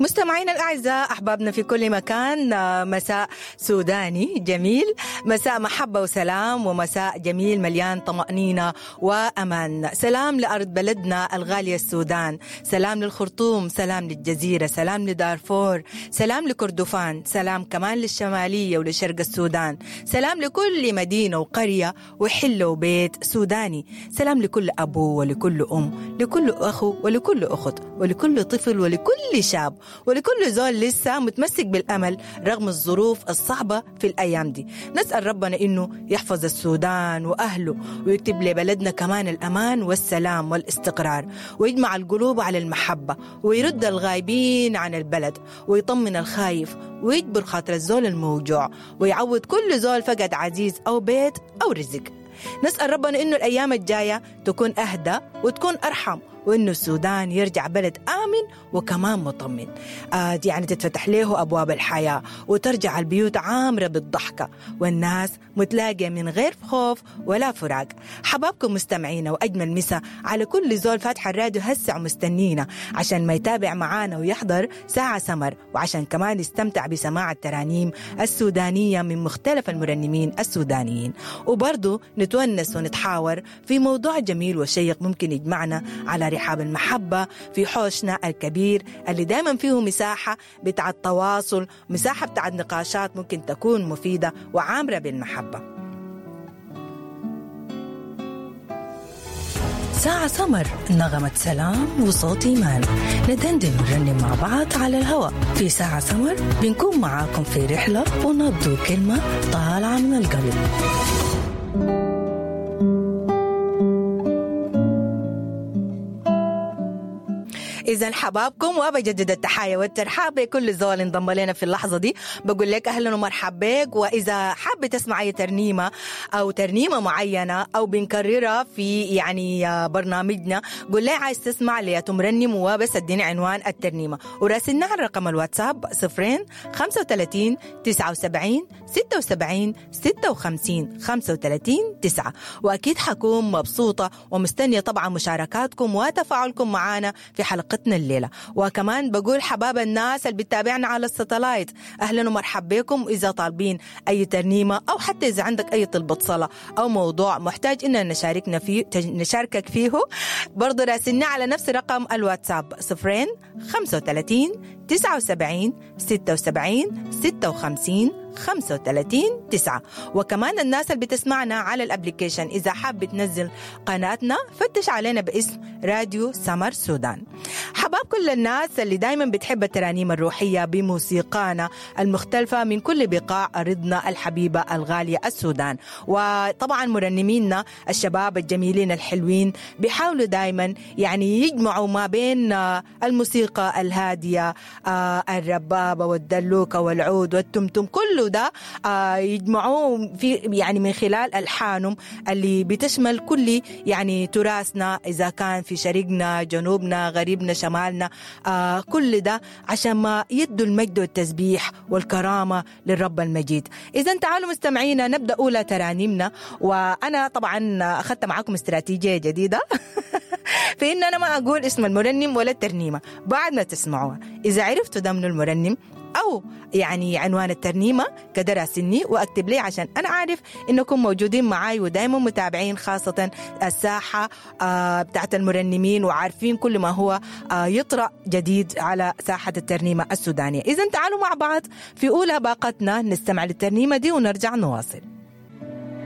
مستمعينا الأعزاء، أحبابنا في كل مكان، مساء سوداني جميل، مساء محبة وسلام، ومساء جميل مليان طمأنينة وأمان. سلام لأرض بلدنا الغالية السودان، سلام للخرطوم، سلام للجزيرة، سلام لدارفور، سلام لكردفان، سلام كمان للشمالية ولشرق السودان، سلام لكل مدينة وقرية وحلة وبيت سوداني، سلام لكل أبو ولكل أم، لكل أخو ولكل أخت، ولكل طفل ولكل شاب، ولكل زول لسه متمسك بالأمل رغم الظروف الصعبة في الأيام دي. نسأل ربنا إنه يحفظ السودان وأهله، ويكتب لبلدنا كمان الأمان والسلام والاستقرار، ويجمع القلوب على المحبة، ويرد الغايبين عن البلد، ويطمن الخايف، ويجبر خاطر الزول الموجوع، ويعوض كل زول فقد عزيز أو بيت أو رزق. نسأل ربنا إنه الأيام الجاية تكون أهدى وتكون أرحم، وإنه السودان يرجع بلد آمن وكمان مطمن، يعني تتفتح له أبواب الحياة، وترجع البيوت عامرة بالضحكة، والناس متلاقية من غير خوف ولا فراق. حبابكم مستمعينا، وأجمل مسا على كل زول فاتح الراديو هسه ومستنينا عشان ما يتابع معانا ويحضر ساعة سمر، وعشان كمان يستمتع بسماع الترانيم السودانية من مختلف المرنمين السودانيين، وبرضه نتونس ونتحاور في موضوع جميل وشيق ممكن يجمعنا على رحاب المحبة في حوشنا الكبير اللي دايما فيه مساحة بتاع التواصل، مساحة بتاع النقاشات ممكن تكون مفيدة وعامرة بالمحبة. ساعة سمر، نغمة سلام وصوت إيمان، ندندن ونرنم مع بعض على الهواء في ساعة سمر. بنكون معاكم في رحلة ونبض كلمة طالعة من القلب. إذا حبابكم، وبجدد التحايا والترحاب بكل زول انضم لنا في اللحظة دي. بقول لك أهلا ومرحبا بك. وإذا حابة تسمع أي ترنيمة أو ترنيمة معينة أو بنكررها في يعني برنامجنا، قول لي عايز تسمع ليا مرنم، وبس اديني عنوان الترنيمة، وراسلنا على رقم الواتساب 0 35 79 76 56 35 9. وأكيد حكون مبسوطة ومستنية طبعا مشاركاتكم وتفاعلكم معنا في حلقتنا الليلة. وكمان بقول حباب الناس اللي بتتابعنا على الستلايت، أهلا ومرحبا بكم. إذا طالبين أي ترنيمة أو حتى إذا عندك أي طلبة صلاة أو موضوع محتاج إننا نشاركنا فيه نشاركك فيه، برضو راسلنا على نفس رقم الواتساب 0 35 79 76 56 35 9. وكمان الناس اللي بتسمعنا على ال application، إذا حاب تنزل قناتنا فتش علينا باسم راديو سمر سودان. حباب كل الناس اللي دايما بتحب الترانيم الروحية بموسيقانا المختلفة من كل بقاع أرضنا الحبيبة الغالية السودان. وطبعا مرنمينا الشباب الجميلين الحلوين بيحاولوا دايما يعني يجمعوا ما بين الموسيقى الهادية، الربابة والدلوكة والعود والتمتم، كله ده يجمعوه في يعني من خلال ألحانهم اللي بتشمل كل يعني تراثنا، إذا كان في شرقنا، جنوبنا، غريبنا، شمالنا، كل ده عشان ما يدوا المجد والتسبيح والكرامة للرب المجيد. إذا تعالوا مستمعينا نبدأ أولى ترانيمنا. وأنا طبعا أخذت معاكم استراتيجية جديدة في إن أنا ما أقول اسم المرنم ولا الترنيمة بعد ما تسمعوها. إذا عرفتوا ده من المرنم أو يعني عنوان الترنيمة كده راسلني وأكتب لي، عشان أنا عارف إنكم موجودين معاي ودايما متابعين، خاصة الساحة بتاعت المرنمين، وعارفين كل ما هو يطرأ جديد على ساحة الترنيمة السودانية. إذن تعالوا مع بعض في أولى باقتنا نستمع للترنيمة دي ونرجع نواصل.